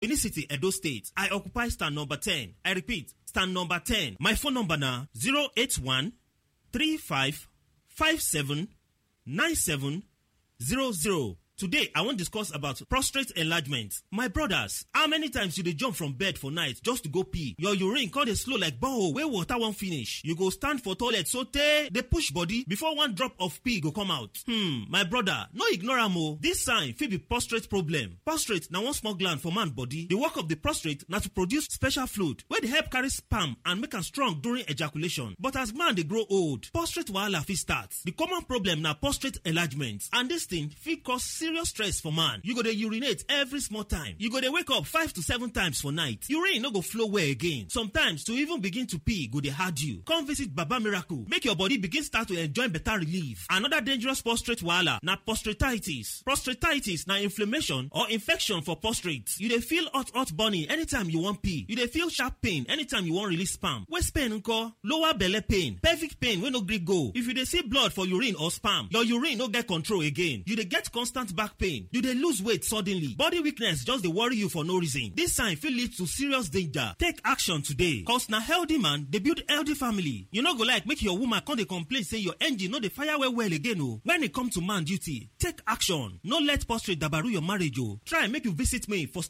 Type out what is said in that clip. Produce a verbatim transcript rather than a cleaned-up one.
Benin City, Edo State. I occupy stand number ten. I repeat, stand number ten. My phone number na zero eight one three five five seven nine seven zero zero. Today, I wan discuss about prostate enlargement. My brothers, how many times you dey jump from bed for night just to go pee? Your urine come dey slow like borehole wey water wan finish. You go stand for toilet sotey dey push body before one drop of pee go come out. Hmm, my brother, no ignore am o. This sign fit be prostate problem. Prostate na one small gland for man body. The work of the prostate na to produce special fluid wey dey help carry sperm and make am strong during ejaculation. But as man dey grow old, prostate wahala fit start. The common problem na prostate enlargement, and this thing fit cause serious stress for man. You go dey urinate every small time. You go dey wake up five to seven times for night. Urine no go flow well again. Sometimes to even begin to pee go dey hard you. Come visit Baba Miracle, make your body begin start to enjoy better relief. Another dangerous prostate wahala na prostatitis. Prostatitis na inflammation or infection for prostate. You dey feel hot hot burning anytime you wan pee. You dey feel sharp pain anytime you wan release sperm. Waist pain nko? Lower belle pain, pelvic pain wey no gree go. If you dey see blood for urine or sperm, your urine no get control again. You dey get constant back pain. You dey lose weight suddenly. Body weakness just dey worry you for no reason. This sign fit lead to serious danger. Take action today, 'cause na healthy man dey build healthy family. You no go like make your woman come dey complain say your engine no dey fire well well again o. When e come to man duty, take action. No let prostate dabaru your marriage o. Try make you visit me for